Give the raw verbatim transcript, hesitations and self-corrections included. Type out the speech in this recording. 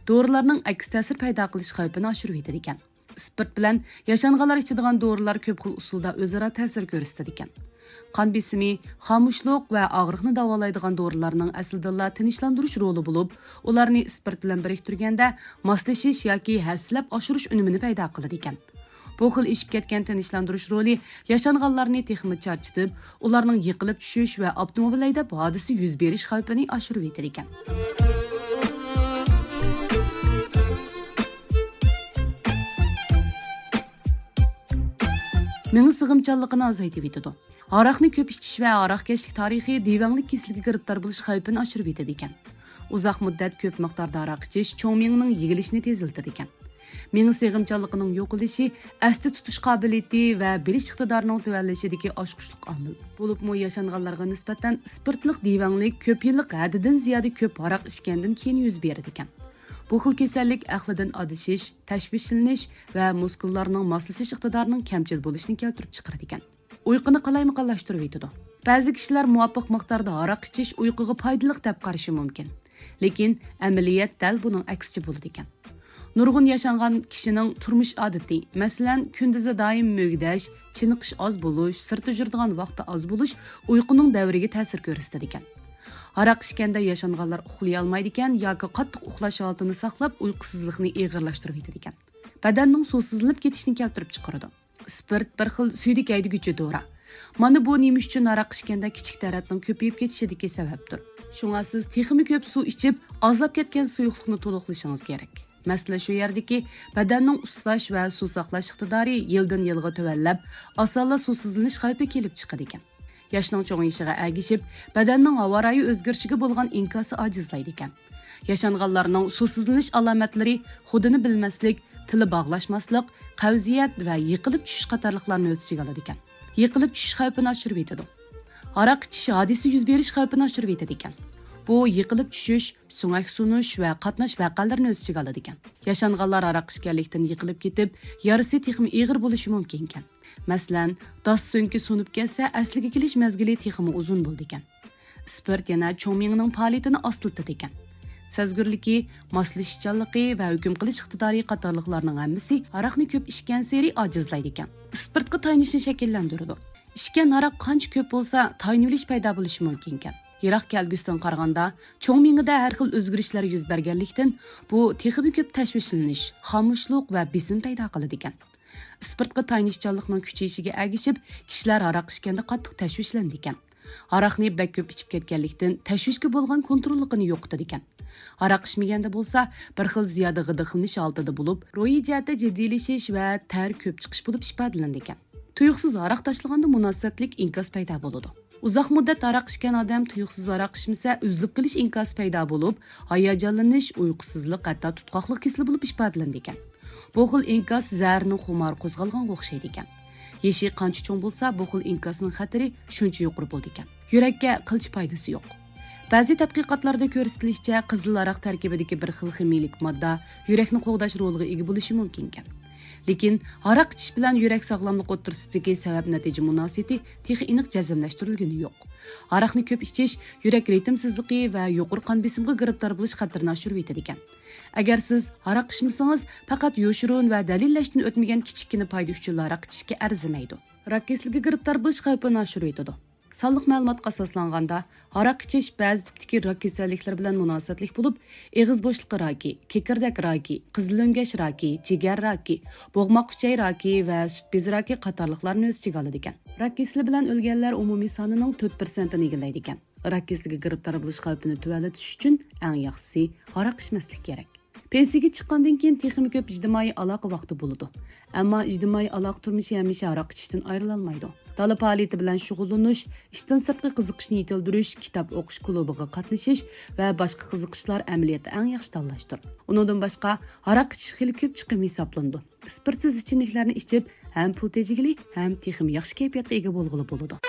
دورىلارنىڭ ئەكس تەسىر پەيدا قىلىش خەۋپىنى ئاشۇرۇۋېتىدىكەن. ئىسپىرت بىلەن ياشانغانلار ئىچىدىغان دورىلار كۆپ خىل ئۇسۇلدا ئۆزئارا تەسىر كۆرسىتىدىكەن. قان بېسىمى، خامۇشلۇق ۋە ئاغرىقنى داۋالايدىغان دورىلارنىڭ ئەسلىدىنلا تىنچلاندۇرۇش رولى بولۇپ، ئۇلارنى ئىسپىرت بىلەن بىرىكتۈرگەندە ماسلىشىش ياكى ھەسسىلەپ ئاشۇرۇش ئۈنۈمىنى پەيدا قىلىدىكەن. بۇ خىل ئېشىپ كەتكەن تىنچلاندۇرۇش رولى ياشانغانلارنى تېخىمۇ چارچىتىپ، ئۇلارنىڭ يىقىلىپ چۈشۈش ۋە ئاپتوموبىل ھەيدەپ ھادىسە يۈز بېرىش خەۋپىنى ئاشۇرۇۋېتىدىكەن. مېڭە سىغىمچانلىقىنى ئازايتىۋېتىدۇ. ھاراقنى كۆپ ئىچىش ۋە ھاراقكەشلىك تارىخى دىۋەڭلىك كېسىلىگە گىرىپتار بولۇش خەۋپىنى ئاشۇرۇۋېتىدىكەن. ئۇزاق مۇددەت كۆپ مىقداردا ھاراق ئىچىش چوڭ مېڭىنىڭ يېگىلىشىنى تېزلىتىدىكەن. مېڭە سىغىمچانلىقىنىڭ يوقىلىشى ئەستە تۇتۇش قابىلىيىتى ۋە بىلىش ئىقتىدارىنىڭ تۆۋەنلىشىدىكى ئاچقۇچلۇق ئامىل. بولۇپمۇ ياشانغانلارغا نىسبەتەن ئىسپىرتلىق دىۋەڭلىك كۆپ يىللىق ھەددىدىن زىيادە كۆپ ھاراق ئىچكەندىن كېيىن يۈز بېرىدىكەن. بۇ خىل كېسەللىك ئەقلىدىن ئادىشىش، تەشۋىشلىنىش ۋە مۇسكۇللارنىڭ ماسلىشىش ئىقتىدارىنىڭ كەمچىل بولۇشىنى كەلتۈرۈپ چىقىرىدىكەن. ئۇيقۇنى قالايمىقانلاشتۇرۇۋېتىدۇ. بەزى كىشىلەر مۇۋاپىق مىقداردا ھاراق ئىچىش ئۇيقۇغا پايدىلىق دەپ قارىشى مۇمكىن. لېكىن ئەمەلىيەت دەل بۇنىڭ ئەكسىچە بولىدىكەن. نۇرغۇن ياشانغان كىشىنىڭ تۇرمۇش ئادىتى، مەسىلەن، كۈندۈزى دائىم مۈگدەش، چېنىقىش ئاز بولۇش، سىرتتا يۈرىدىغان ۋاقتى ئاز بولۇش ئۇيقۇنىڭ دەۋرىگە تەسىر كۆرسىتىدىكەن. ھاراق ئىچكەندە ياشانغانلار ئۇخلىيالمايدىكەن ياكى قاتتىق ئۇخلاش ھالىتىنى ساقلاپ، ئۇيقۇسىزلىقنى ئېغىرلاشتۇرۇۋېتىدىكەن. بەدەننىڭ سۇسىزلىنىپ كېتىشىنى كەلتۈرۈپ چىقىرىدۇ. ئىسپىرت بىر خىل سۈيدۈك ھەيدىگۈچى دورا. مانا بۇ نېمە ئۈچۈن ھاراق ئىچكەندە كىچىك تەرەتنىڭ كۆپىيىپ كېتىشىدىكى سەۋەبتۇر. شۇڭا سىز تېخىمۇ كۆپ سۇ ئىچىپ، ئازلاپ كەتكەن سۇيۇقلۇقنى تولۇقلىشىڭىز كېرەك. مەسىلە شۇ يەردىكى، بەدەننىڭ ئۇسساش ۋە سۇ ساقلاش ئىقتىدارى يىلدىن يىلغا تۆۋەنلەپ، ئاسانلا سۇسىزلىنىش خەۋپى كېلىپ چىقىدىكەن. ياشنىڭ چوڭىيىشىغا ئەگىشىپ، بەدەننىڭ ھاۋا رايى ئۆزگىرىشىگە بولغان ئىنكاسى ئاجىزلايدىكەن. ياشانغانلارنىڭ سۇسىزلىنىش ئالامەتلىرى خۇدىنى بىلمەسلىك، تىلى باغلاشماسلىق، قەۋزىيەت ۋە يىقىلىپ چۈشۈش قاتارلىقلارنى ئۆز ئىچىگە ئالىدىكەن. يىقىلىپ چۈشۈش خەۋپىنى ئاشۇرۇۋېتىدۇ. ھاراق ئىچىش ھادىسە يۈز بېرىش خەۋپىنى ئاشۇرۇۋېتىدىكەن. بۇ يىقىلىپ چۈشۈش، سۆڭەك سۇنۇش ۋە قاتناش ۋەقەلىرىنى ئۆز ئىچىگە ئالىدىكەن. ياشانغانلار ھاراق ئىچكەنلىكتىن يىقىلىپ كېتىپ، يارىسى تېخىمۇ ئېغىر بولۇشى مۇمكىنكەن. مەسىلەن، داس سۆڭىكى سۇنۇپ كەتسە، ئەسلىگە كېلىش مەزگىلى تېخىمۇ ئۇزۇن بولىدىكەن. ئىسپىرت يەنە چوڭ مېڭىنىڭ پائالىيىتىنى ئاستىلىتىدىكەن. سەزگۈرلۈكى، ماسلىشىشچانلىقى ۋە ھۆكۈم قىلىش ئىقتىدارى قاتارلىقلارنىڭ ھەممىسى ھاراقنى كۆپ ئىچكەنسېرى ئاجىزلايدىكەن. ئىسپىرتقا تايىنىشنى شەكىللەندۈرىدۇ. ئىچكەن ھاراق قانچە كۆپ بولسا، تايىنىۋېلىش پەيدا بولۇشى مۇمكىنكەن. يىراق كەلگۈسىدىن قارىغاندا، چوڭ مېڭىدە ھەر خىل ئۆزگىرىشلەر يۈز بەرگەنلىكتىن، بۇ تېخىمۇ كۆپ تەشۋىشلىنىش، خامۇشلۇق ۋە بېسىم پەيدا قىلىدىكەن. ئىسپىرتقا تايىنىشچانلىقنىڭ كۈچىيىشىگە ئەگىشىپ، كىشىلەر ھاراق ئىچكەندە قاتتىق تەشۋىشلىنىدىكەن. ھاراقنى بەك كۆپ ئىچىپ كەتكەنلىكتىن، تەشۋىشكە بولغان كونتروللۇقىنى يوقىتىدىكەن. ھاراق ئىچمىگەندە بولسا، بىر خىل زىيادە غىدىقلىنىش ھالىتىدە بولۇپ، روھىي جەھەتتە جىددىيلىشىش ۋە تەر كۆپ چىقىش بولۇپ ئىپادىلىنىدىكەن. تۇيۇقسىز ھاراق تاشلىغاندا مۇناسىۋەتلىك ئىنكاس پەيدا بولىدۇ. ئۇزاق مۇددەت ھاراق ئىچكەن ئادەم تۇيۇقسىز ھاراق ئىچمىسە، ئۈزۈلۈپ قېلىش ئىنكاسى پەيدا بولۇپ، ھاياجانلىنىش، ئۇيقۇسىزلىق، ھەتتا تۇتقاقلىق كېسىلى بولۇپ ئىپادىلىنىدىكەن. بۇ خىل ئىنكاس زەھەرنىڭ خۇمارى قوزغالغانغا ئوخشايدىكەن. يېشى قانچە چوڭ بولسا، بۇ خىل ئىنكاسنىڭ خەتىرى شۇنچە يۇقىرى بولىدىكەن. يۈرەككە قىلچە پايدىسى يوق. بەزى تەتقىقاتلاردا كۆرسىتىلىشىچە، قىزىل ھاراق تەركىبىدىكى بىر خىل خىمىيىلىك ماددا يۈرەكنى قوغداش رولىغا ئىگە بولۇشى مۇمكىنكەن. لېكىن ھاراق ئىچىش بىلەن يۈرەك ساغلاملىقى ئوتتۇرىسىدىكى سەۋەب نەتىجە مۇناسىۋىتى تېخى ئېنىق جەزملەشتۈرۈلگىنى يوق. ھاراقنى كۆپ ئىچىش يۈرەك رىتىمسىزلىقى ۋە يۇقىرى قان بېسىمىغا گىرىپتار بولۇش خەتىرىنى ئاشۇرۇۋېتىدىكەن. ئەگەر سىز ھاراق ئىچمىسىڭىز، پەقەت يوشۇرۇن ۋە دەلىللەشتىن ئۆتمىگەن كىچىككىنە پايدا ئۈچۈنلا ھاراق ئىچىشكە ئەرزىمەيدۇ. راك كېسىلىگە گىرىپتار بولۇش خەۋپىنى ئاشۇرۇۋېتىدۇ. سانلىق مەلۇماتقا ئاساسلانغاندا، ھاراق ئىچىش بەزى تىپتىكى راك كېسەللىكلىرى بىلەن مۇناسىۋەتلىك بولۇپ، ئېغىز بوشلۇقى راكى، كېكىردەك راكى، قىزىلۆڭگەچ راكى، جىگەر راكى، بوغماق ئۈچەي راكى ۋە سۈت بېزى راكى قاتارلىقلارنى ئۆز ئىچىگە ئالىدىكەن. راك كېسىلى بىلەن ئۆلگەنلەر ئۇمۇمىي سانىنىڭ تۆت پىرسەنتىنى ئىگىلەيدىكەن. راك كېسىلىگە گىرىپتار بولۇش خەۋپىنى تۆۋەنلىتىش ئۈچۈن ئەڭ ياخشىسى ھاراق ئىچمەسلىك كېرەك. پېنسىيىگە چىققاندىن كېيىن تېخىمۇ كۆپ ئىجتىمائىي ئالاقە ۋاقتى بولىدۇ. ئەمما ئىجتىمائىي ئالاقە تۇرمۇشى ھەمىشە ھاراق ئىچىشتىن ئايرىلالمايدۇ. دالا پائالىيىتى بىلەن شۇغۇللىنىش، ئىشتىن سىرتقى قىزىقىشنى يېتىلدۈرۈش، كىتاب ئوقۇش كۇلۇبىغا قاتنىشىش ۋە باشقا قىزىقىشلار ئەمەلىيەتتە ئەڭ ياخشى تاللاشتۇر. ئۇنىڭدىن باشقا، ھاراق ئىچىش خېلى كۆپ چىقىم ھېسابلىنىدۇ. ئىسپىرتسىز ئىچىملىكلەرنى ئىچىپ، ھەم پۇل تېجىگىلى، ھەم تېخىمۇ ياخشى كەيپىياتقا ئىگە بولغىلى بولىدۇ.